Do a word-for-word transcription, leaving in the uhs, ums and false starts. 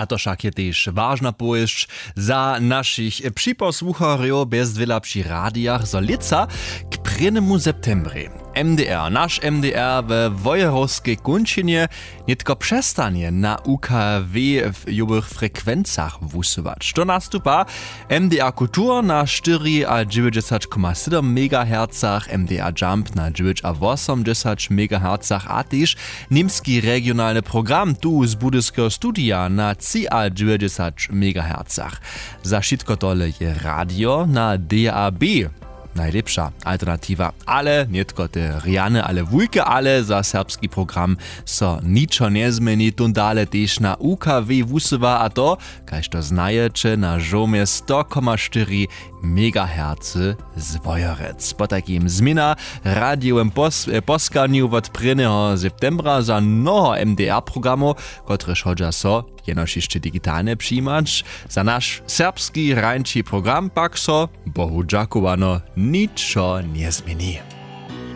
A to wšak je tež wažna powěsć za našich připosłucharjow bjezdwěla při radijach, zo lětsa k prěnemu septembrej M D R, naš M D R we Wojerowskej kónčinje nětko přestanje na U K W w jowych frekwencach wusyłać. To nastupa M D R Kultur na štyriadźewjećdźesat koma sydom megahercach, M D R Jump na dźewjećawosomdźesat megahercach a tež němski regionalny program tu z budyskeho studija na třiadźewjećdźesat megahercach. Za wšitko tole je radio na D A B najlěpša alternatiwa. Ale nětko te rjane ale wulke ale za serbski program so ničo njezměni, tón dale tež na U K W wusyła, a to, kaž to znajeće, na žołmje sto koma štyri megahercy z Wojerec. Potajkim změna w radijowym pos-, e, poskanju wot prěnjeho septembra za mnoho M D R programow, kotrež hodźa so jenož hišće digitalnje přijimać. Za naš serbski rańši program pak so, Bohu dźakowano, ničo njezměni.